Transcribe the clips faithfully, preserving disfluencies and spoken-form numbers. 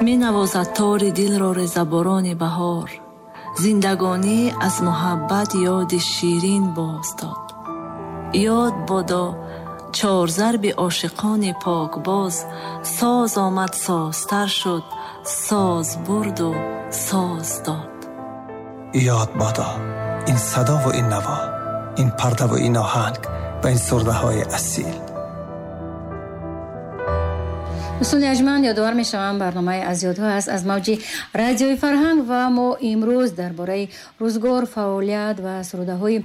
Менавозад тори дилро резаборони баҳор, зиндагонӣ аз муҳаббат ёди ширин боз дод. Ёд бодо чорзарби ошиқони покбоз, соз омад созтар шуд, соз бурду соз дод. Ёд бодо ин садову ин наво, ин пардаву ин оҳанг ва ин сурдаҳои асил. Дӯстони арҷманд, ёдовар мешавам, барномаи аз ёдҳо аст аз мавҷи радиои Фарҳанг ва мо имрӯз дар бораи рӯзгор, фаъолият ва сурудаҳои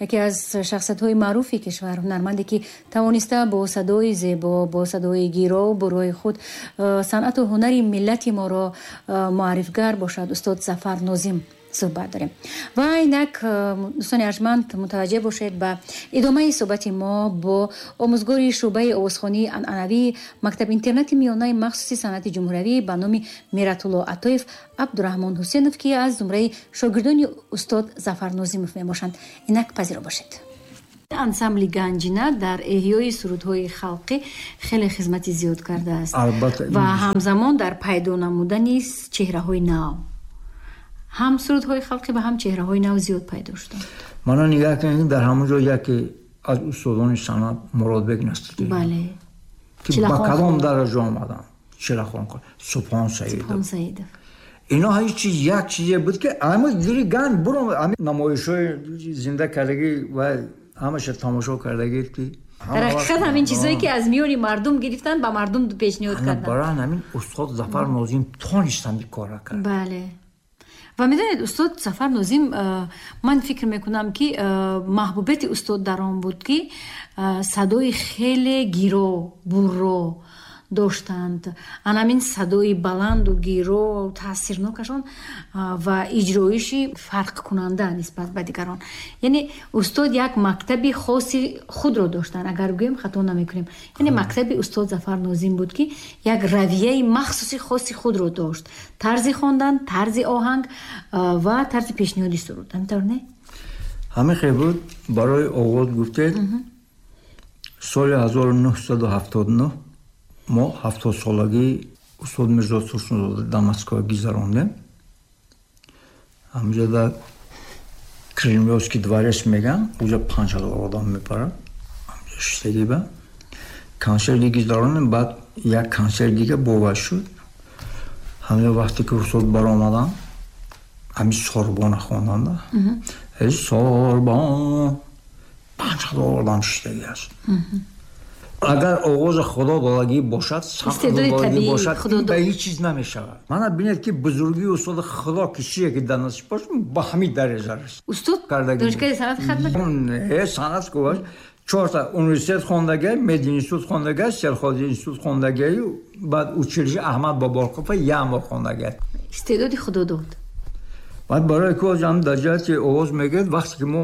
яке аз шахсиятҳои маъруфи кишвар, ҳунарманде ки тавониста бо садои зебо, бо садои гиро бурои худ санъату ҳунари миллати моро муаррифгар бошад, устод Зафар Нозим суҳбат дорем. Ва инак, дӯстони арҷманд, мутаваҷҷеҳ бошед ба идомаи суҳбати мо бо омӯзгори шӯъбаи овозхонии анъанавии мактаб-интернати миёнаи махсуси санъати ҷумҳуриявӣ ба номи Миратулло Атоев Абдураҳмон Ҳусенов, ки аз зумраи шогирдони устод Зафар Нозимов мебошанд. Инак пазиро бошед. Ансамбли Ганҷина дар эҳёи сурудҳои халқӣ хеле хизмати зиёд кардааст ва ҳамзамон дар пайдо намудани чеҳраҳои нав, ҳам сурудҳои халқӣ ва ҳам чеҳраҳои нав зиёд пайдо шуданд. Мана нигаҳ кунед, дар ҳамон ҷо яке аз устодони санъат Муродбек Насриддин, бале, ки ба кадом дараҷа омаданд, Чилахон, Субҳон Саидов, Субҳон Саидов, ино ҳеҷ чиз як чизе буд ки ҳама зири ганҷ буром, ҳамин намоишҳои зинда кардагӣ ва ҳамаша тамошо кардагӣ ки дар ҳақиқат ҳамин чизҳое ки аз миёни мардум гирифтанд, ба мардум пешниҳод карданд. Барои ҳамин устод Зафар Нозим тонистанд ин корро кард. Бале. Ва медонед, устод Зафар Нозим, ман фикр мекунам ки маҳбубияти устод дар он буд ки садои хеле гиро, бурро доштанд. Ан ҳамин садои баланду гиро таъсирнокашон ва иҷроиши фарқкунанда нисбат ба дигарон. Яъне устод як мактаби хоси худро доштанд, агар гӯем хато намекунем. Яъне мактаби устод Зафар Нозим буд ки як равияи махсуси хоси худро дошт, тарзи хондан, тарзи оҳанг ва тарзи пешниҳоди суруд. Ҳамин тавр не? Ҳамин хел буд. Барои оғоз гуфтед, соли ҳазору нӯҳсаду ҳафтоду нӯҳ мо ҳафтодсолагии устод Мирзо Турсунзода дар Москва гузарондем. Ҳаминҷо дар Кремлёвский дворец меган, уҷа панҷ ҳазор одам мепарад. Ҳаминҷо шиштагӣ ба консерти гузарондем, баъд як консерт дига бовар шуд. Ҳаминҷо вақте ки устод баромаданд, ҳамин Сорбона хонданда, эй Сорбон, панҷ ҳазор одам шиштагӣ аст. Агар оғози худо долагӣ бошад, истеъдоди бошад, ба ҳеҷ чиз намешавад. Мана бинед ки бузургии устоди худо ки чие ки дар насиб бошад, ба ҳамин дараҷа раст. Устод донишгоҳи санъат хатм Не, санъат гуваш чорта университет хондагай, мединститут хондагай, сельхозинститут хондагай, баъд училище Аҳмад Боборқова як моҳ хондагай. Истеъдоди худо дод. Баъд барои ки ҳам дар ҷиҳати овоз мегӯяд, вақте ки мо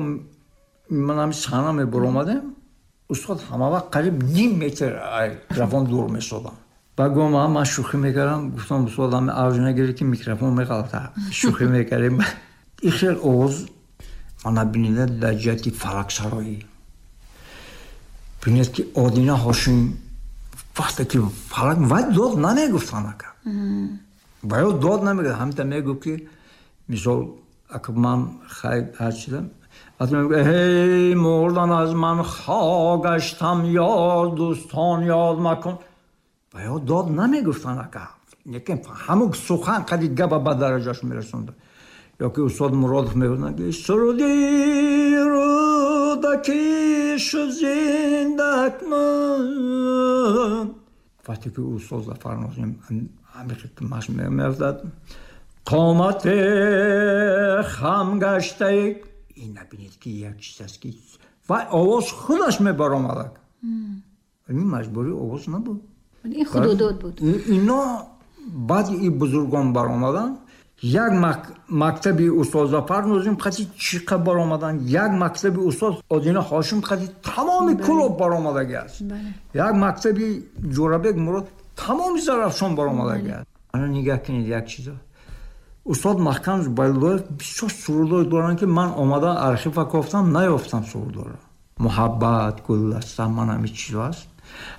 ман ҳамин саҳна мебаромадем, устод ҳама вақт қариб ним метр микрофон дур месодам. Баъд гуфтам, ман шӯхӣ мекардам, гуфтам, устод, ҳами авҷ нагиред ки микрофон меғалта. Шӯхӣ мекардем. Ин хел овоз мана бинеда дар ҷиҳати фалаксароӣ. Бинед ки Одина Ҳошим вақте ки фалак вай дод намегуфтан ака. Вай дод намегуфт, ҳамита мегуфт ки мисол ака ман хай ҳар чизам эй мурдан аз ман хогаштам ёд дӯстон ёд макун. Ва ё дод намегуфтан ака, лекин ҳамун сухан қади гапа ба дараҷаш мерасонда. Ё ки устод Муродов мегуфтанд ки суруди Рӯдакӣ шуд зиндакман. Вақте ки устод Зафар Нозим ҳамин маш меафтад, қомате хам гаштаи, ин набинед ки як чиз аст ки вай овоз худаш мебаромадак. Ин маҷбурии овоз набуд. Ин худодод буд. Ино баъди ин бузургон баромаданд. Як мактаби устод Зафар Нозим қати чиқа баромаданд, як мактаби устод Одина Ҳошим қати тамоми Кӯлоб баромадагӣ аст, як мактаби Ҷӯрабек Мурод тамоми Зарафшон баромадагӣ аст. Ана нигаҳ кунед як чизо, устод Маҳкам Зубайдуллоев бисёр сурудҳое доранд ки ман омада архива кофтам, наёфтам сурудҳоро. Муҳаббат, гулдаста, ман ҳамин чизо аст.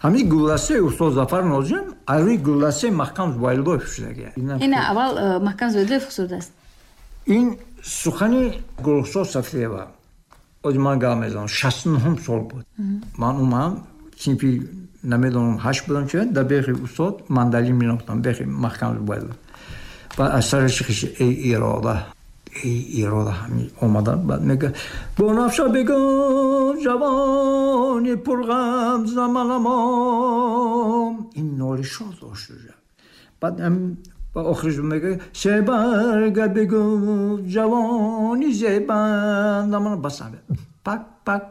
Ҳамин гулдастаи устод Зафар Нозим аз рӯи гулдастаи Маҳкам Зубайдуллоев шудагия. Ин аввал э, Маҳкам Зубайдуллоев сурудааст. Ин сухани Гулрухсор Сафиева. Ози ман гап мезанам, шасту нуҳум сол буд. Ман омадам, синфи намедонам ҳашт будам, чи дар бехи устод мандалин менохтам, бехи Маҳкам Зубайдуллоев. Баъд аз сараши хиши эй ирода, эй ирода ҳамин омадан, баъд мега Бунафша бигӯ ҷавони пурғам заманамом. Ин нолишо дошт уже. Баъд ба охириш мега себарга бигӯ ҷавони зебандамана, бас пак пак